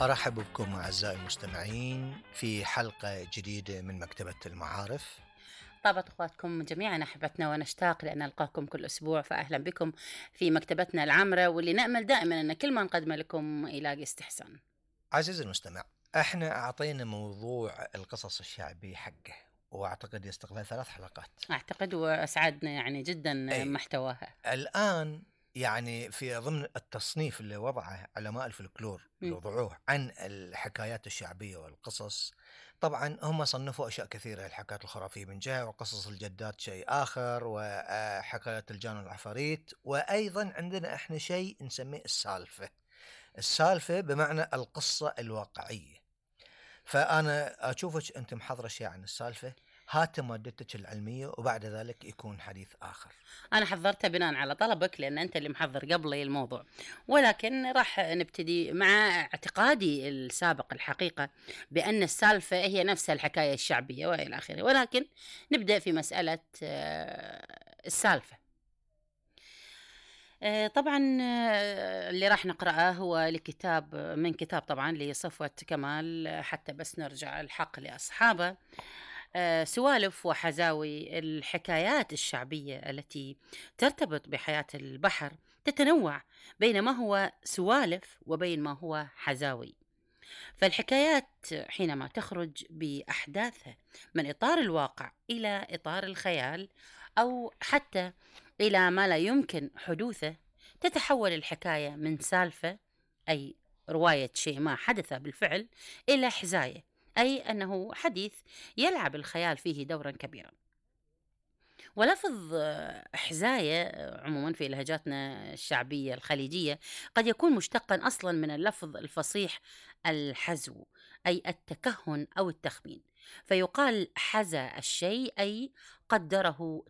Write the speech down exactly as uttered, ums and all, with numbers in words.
أرحب بكم أعزائي المستمعين في حلقة جديدة من مكتبة المعارف. طابت أخواتكم جميعا أحبتنا ونشتاق لأن نلقاكم كل أسبوع، فأهلا بكم في مكتبتنا العامرة، واللي نأمل دائما أن كل ما نقدمه لكم يلاقي استحسان. عزيزي المستمع، احنا أعطينا موضوع القصص الشعبية حقه، وأعتقد يستقبل ثلاث حلقات. أعتقد وأسعدنا يعني جدا أي محتواها. الآن يعني في ضمن التصنيف اللي وضعه علماء الفلكلور اللي م. وضعوه عن الحكايات الشعبية والقصص، طبعا هم صنفوا أشياء كثيرة، الحكايات الخرافية من جهة، وقصص الجدات شيء آخر، وحكايات الجان والعفاريت، وأيضا عندنا احنا شيء نسميه السالفة. السالفة بمعنى القصة الواقعية. فأنا أشوفك أنت محضرة شيء عن السالفة، هات مادتك العلمية وبعد ذلك يكون حديث آخر. أنا حضرتها بناء على طلبك لأن أنت اللي محضر قبلي الموضوع، ولكن راح نبتدي مع اعتقادي السابق الحقيقة بأن السالفة هي نفسها الحكاية الشعبية وإلى آخره، ولكن نبدأ في مسألة آه، السالفة. آه، طبعا آه، اللي راح نقرأه هو لكتاب من كتاب طبعا لصفوة كمال، آه، حتى بس نرجع الحق لأصحابه. آه، سوالف وحزاوي الحكايات الشعبية التي ترتبط بحياة البحر تتنوع بين ما هو سوالف وبين ما هو حزاوي. فالحكايات حينما تخرج بأحداثها من إطار الواقع إلى إطار الخيال أو حتى إلى ما لا يمكن حدوثه، تتحول الحكاية من سالفة، أي رواية شيء ما حدث بالفعل، إلى حزاية، أي أنه حديث يلعب الخيال فيه دورا كبيرا. ولفظ آه، حزاية آه، عموما في لهجاتنا الشعبية الخليجية قد يكون مشتقا أصلا من اللفظ الفصيح الحزو، أي التكهن أو التخمين، فيقال حزى الشيء أي قدره